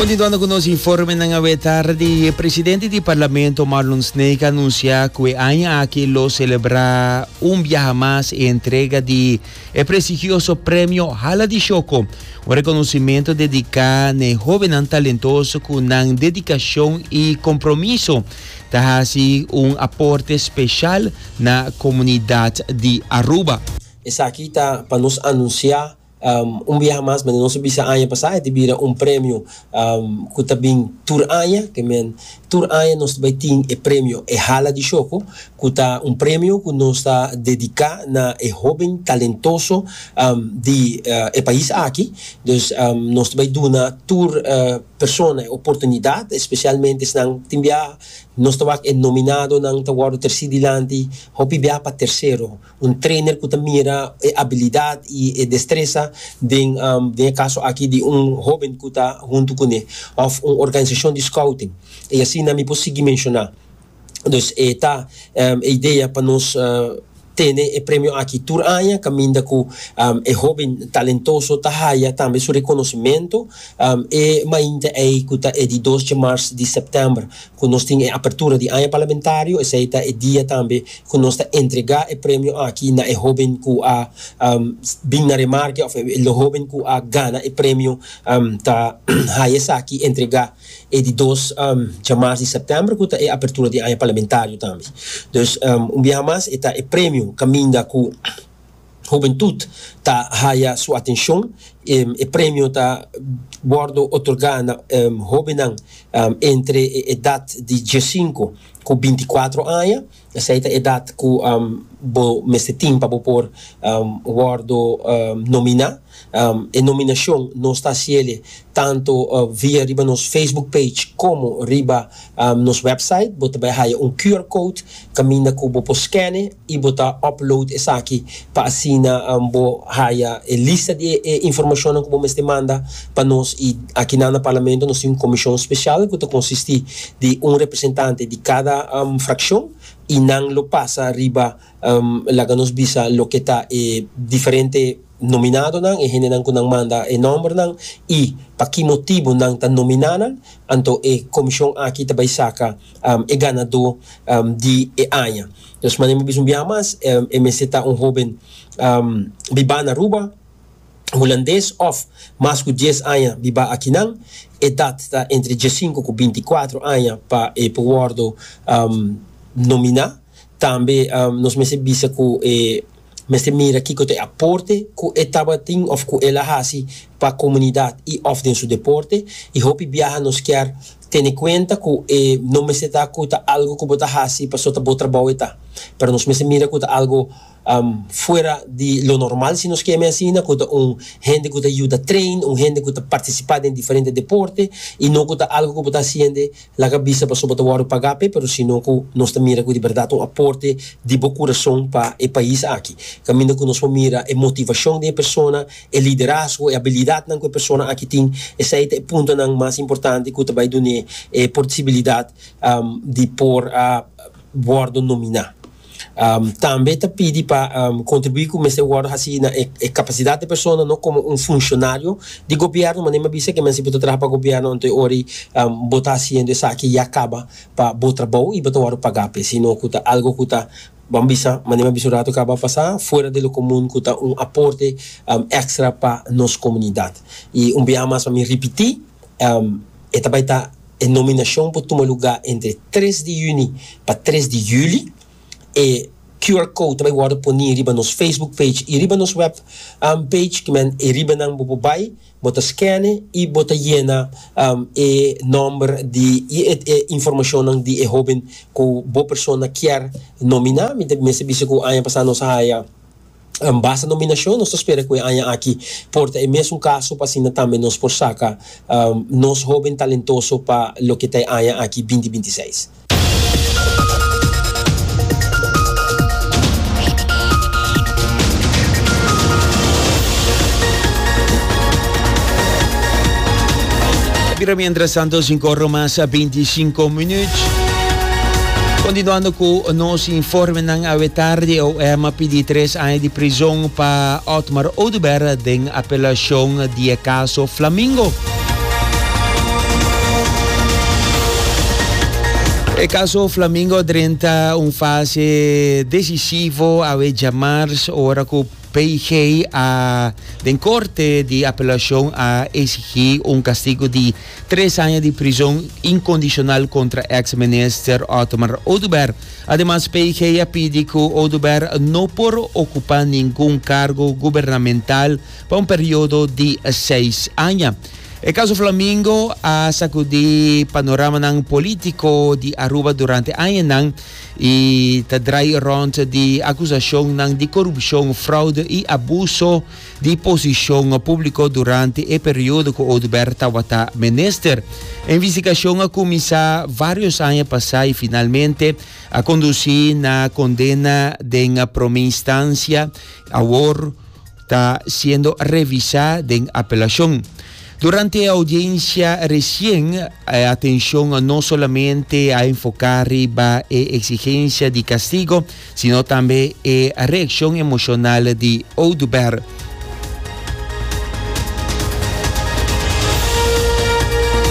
Continuando cu nos informenan awe tardi, e presidente di Parlamento Marlon Sneek a anuncia cu e aña aki lo celebra un biaha mas e entrega di e prestigioso premio Hala di Shoco, un reconocimento dedica n'e hobennan talentoso cu nan dedicacion y compromiso ta haci un aporte special na comunidad di Aruba. Esaki ta pa nos anuncia Un biaha mas, manera nos a bisa aña pasá, e ta bira un premio ku ta bin tur aña. Ke men, tur aña nos ta bai tin e premio E Hala di Shoko, ku ta un premio ku nos ta dediká na e hóben talentoso di e pais aki. Dus nos ta bai duna tur persona e oportunidat, espesialmente esnan tin biaha nos ta wak e nominadonan ta wòrdu tersí dilanti hopi biaha pa tersero. Un trainer ku ta mira e abilidat i e destresa den den e kaso aki di un hóben ku ta huntu kuné òf un organisashon di scouting. I asina mi por sigui menshoná. Dus e ta e idea pa nos tene e premio aki tur aña kaminda ku e hóben talentoso ta haya tambe su rekonosimentu. E mainta ei ku ta e di dos djamars di sèptèmber ku nos tin e apertura di aña parlamentario, esei ta e dia tambe ku nos ta entregá e premio aki na e hóben ku a bin na remarke òf e hóben ku a gana e premio ta haya esaki entregá e di dos djamars di sèptèmber ku ta e apertura di aña parlamentario tambe. Dus un biaha mas e ta e premio kaminda ku. Hubentud ta haya su atencion. E premio ta wordo otorga na hobennan entre e edad di diesinco cu binticuatro aña. Esey ta edad cu bo mester tin pa bo por wordo nomina. E nominacion nos ta haciele tanto via riba nos Facebook page como riba nos website. Bo ta bay haya un QR code caminda cu bo por scan'e y bo ta upload esaki pa asina bo haya e lista di e informacionnan cu bo mester manda pa nos. Y akinan na Parlamento nos tin un comision special cu ta consisti di un representante di cada fraccion y nan lo pasa riba laga nos bisa loke ta e diferente nominadonan, e hendenan ku nan manda e nòmbernan i pa ki motibu nan ta nominá nan, anto e komishon aki ta bai saka e ganadó di e aña. Dus manera mi bisa un biaha mas, e mester ta un hóben bibá na Aruba, hulandes òf mas ku dies aña bibá akinan, edat ta entre diesinku ku bintikuatro aña pa e por wòrdu nominá. Tambe nos mester bisa ku e Mester mira kiko ta e aporte ku e tabatin òf ku el a hasi pa komunidat i òf den su deporte. I hopi biaha nos kier tene kuenta ku e no mester ta ku ta algu ku bo ta hasi pasobra ta bo trabou e ta. Pero nos mester mira ku ta algu fuera di lo normal si nos keme asina, ku ta un hende ku ta yuda train, un hende ku ta partisipá den diferente deporte i no ku ta algu ku bo ta hasiende Laga bisa pasobra bo ta wòrdu pagá p'e, pero sino ku nos ta mira ku di bèrdat un aporte di bo kurason pa e pais aki. Kaminda ku nos por mira e motivashon di e persona, e liderazgo, e abilidatnan ku e persona aki tin, esei ta e puntonan mas importante ku ta bai dun'é e posibilidat di por a wòrdu nominá. Tambe ta pidi pa kontribuí ku mester wòrdu hasi na e kapasidat di persona, no komo un funshonario di gobièrnu. Manera mi a bisa ke men si bo ta traha pa gobièrnu anto e ora ei bo ta hasiendo esaki ya kaba pa bo trabou i bo ta wòrdu pagá p'e, sino ku ta algu ku ta, ban bisa, manera mi a bisa un ratu kaba pasá, fuera de lo komun ku ta un aporte èkstra pa nos komunidat. I un biaha mas pa mi ripití, e ta bai ta. E nominashon por tuma lugá entre tres di yüni pa tres di yüli. E QR code ta bai wòrdu poní riba nos Facebook page i riba nos web page, ki men e riba nan bo por bai, bo ta skène i bo ta yena e nòmber di i e informashonnan di e hóben ku bo persona kier nominá. Mi ta mester bisa ku aña pasá nos a haya. Basta nominashon, nos ta spera ku e aña aki por ta e mesun kaso pa asina tambe nos por saka nos hoben talentoso pa loke ta e aña aki binti 26. Bira mientras tanto 5 ora mas 25 minuut. Continuando cu nos informenan awe tardi, OM a pidi tres aña di prizon pa Otmar Oduber den apelacion di e caso Flamingo. E caso Flamingo a drenta un fase decisivo awe djamars ora cu PG a den corte di apelacion a exigi un castigo di tres aña di prizon incondicional contra ex minister Otmar Oduber. Ademas PG a pidi cu Oduber no por ocupa ningun cargo gubernamental pa un periodo di seis aña. E caso Flamingo a sacudi panoramanan politico di Aruba durante añanan y ta draai rond di acusacionnan di corupcion, fraude y abuso di posicion publico durante e periodo cu Oduber tabata minister. E investigacion a cuminsa varios aña pasa y finalmente a conduci na condena den prome instancia. Awor, ta siendo revisá den apelashon. Durante e audiencia resien, e atencion no solamente a enfoká riba e exigencia di castigo, sino tambe e reaccion emocional di Oduber.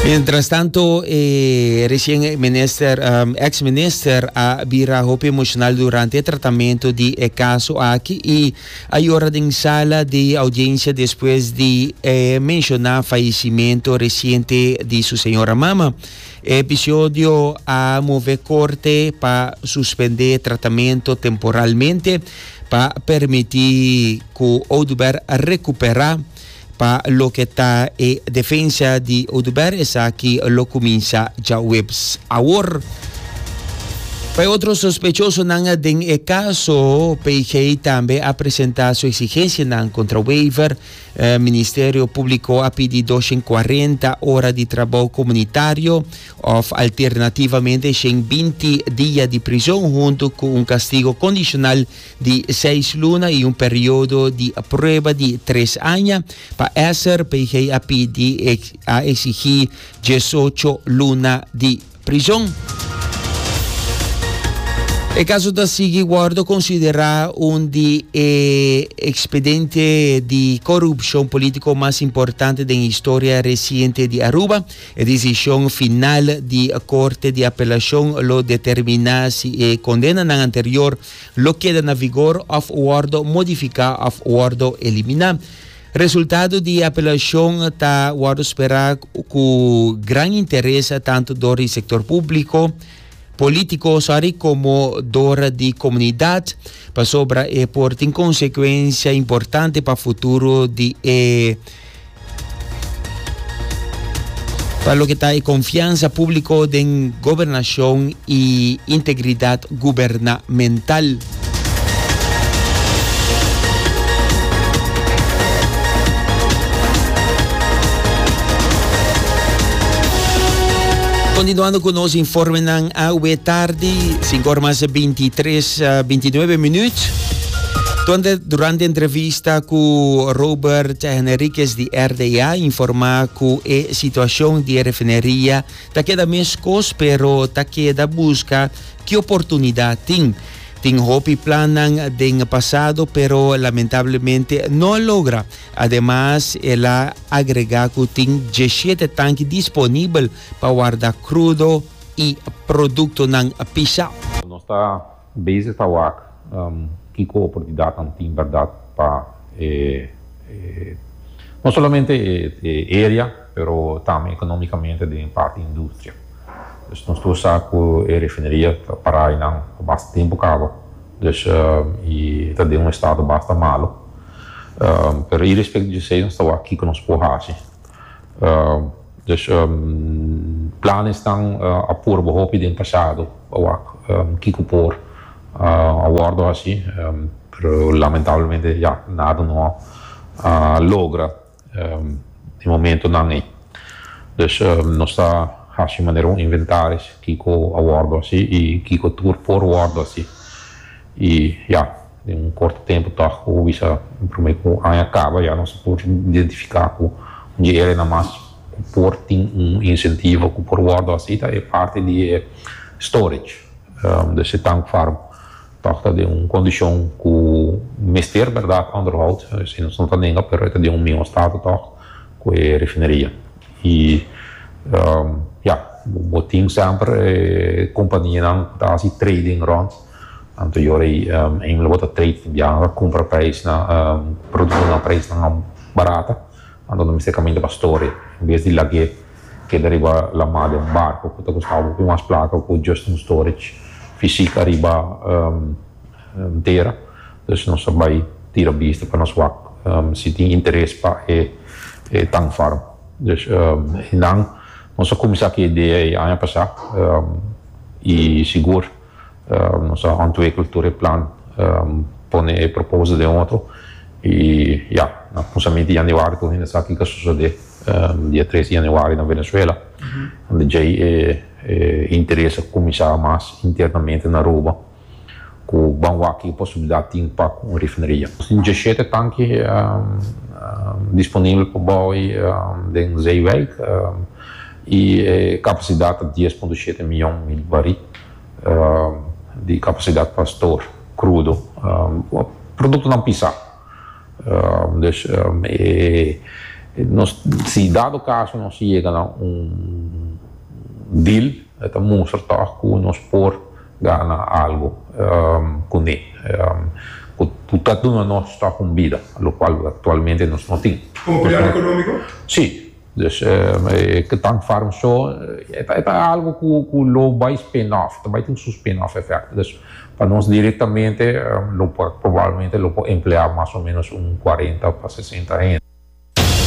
Mientras tanto, e resien minister, ex minister a bira hopi emocional durante e tratamento di e caso aki y A yora den sala di audiencia despues di e menciona fayecimento reciente di su señora mama. E episodio a move corte pa suspende tratamento temporalmente pa permiti cu Oduber recupera. Pa loke ta e defensa di Oduber esaki lo cuminsa djaweps awor. Pa e otro sospechosonan den e caso, PG tambe a presenta su exigencianan contra Wever. Ministerio Publico a pidi 240 ora di trabou comunitario of alternativamente 120 dia di prison hunto cu un castigo condicional di seis luna i un periodo di prueba di tres aña. Pa Esser, PG a pidi a exigí 18 luna di prison. E caso ta sigui wordo considera un di e expediente di corupcion politico mas importante den historia reciente di Aruba. E desishon final di Korte di Apelashon lo determiná si e kondenanan anterior lo keda na vigor òf wòrdu modifiká òf wòrdu eliminá. Resultado di e apelashon ta wòrdu sperá ku gran interes tantu dor di sektor públiko, polítiko, sorry, komo dor di komunidat, pasobra e por tin konsekuensia importante pa futuro di e. Pa loke ta e konfiansa públiko den gobernashon i integridat gubernamental. Kontinuando ku nos informenan awe tardi, 5 or mas 23, 29 minuut. Donde durante entrevista ku Robert Henriquez di RDA informa ku e situacion di e refineria ta keda meskos pero ta keda buska ki oportunidad tin. Tin hopi plannan den pasado pero lamentablemente no a logra. Ademas el a agrega ku tin 17 tanki disponibel pa warda krudo i produktonan pisa. Nos ta Bezig ta wak kiko oportunidatnan tin bèrdat pa e no solamente e area pero tambe economicamente den e parti industria. Dus nos tur sa ku e refineria ta pará einan pa basta tempu kaba dus i ta den un estado basta malo pero irespecto di esei nos ta wak kiko nos por hasi. Dus planesnan a purba hopi den pasado pa wak kiko por a wordo haci, pero lamentablemente ya nada no a logra den momentonan ey. Dus nos ta haci manera un inventaris kiko a wordo haci y kiko tur por wordo haci y ya. Den un korto tempu tòg ku bisa promé ku aña kaba ya nos por identifiká ku un dje area mas ku por tin un insentivo ku por wòrdu hasi ta e parti di e storage. Dus e tank farm tòg ta den un kondishon ku mester bèrdat onderhoud, si nos no ta nenga pero e ta den un mihó stato tòg ku e refineria. I ya. bo tin semper e kompanianan ku ta hasi trading rònt, anto yora ei eindelijk bo ta trade tin biaha ta kumpra prijsnan produkto na prijsnan barata, anto nan mester kaminda pa store en bes di lag'é keda riba lamá den un barko ku ta kosta hopi mas plaka ku just un storage fisik ariba tera. Dus nos a bai tira bista pa nos wak si tin interes pa e tankfarm. Dus nan nos a kuminsá ku e idea ei aña pasá i sigur nos a ontwikkel tur e plan, pone e proposal den otro i ya, na kuminsamentu di yanüari tur hende sa kiko a sosodé dia tres di yanüari na Venezuela. Unda djei e interes a kuminsá mas internamente na Aruba. Ku ban wak ki posibilidat tin pa ku un refineria. Nos tin dieshete tanki disponibel pa bou den Zeewijk i e kapasidat ta 10.7 miyon mil barí di kapasidat pa store krudo, produktonan pisá. Dus nos si dado kaso nos yega na un deal e ta mustra tòg ku nos por gana algo kuné ku ta duna nos tòg un bida, lokual aktualmente nos no tin. Komo pilar ekonómiko? Sí. Dus e tankfarm so e ta algo ku lo bai spin off, ta bai tin su spin off effect. Dus pa nos direktamente lo por probablemente lo por empleá mas o ménos un 40 pa 60 hende.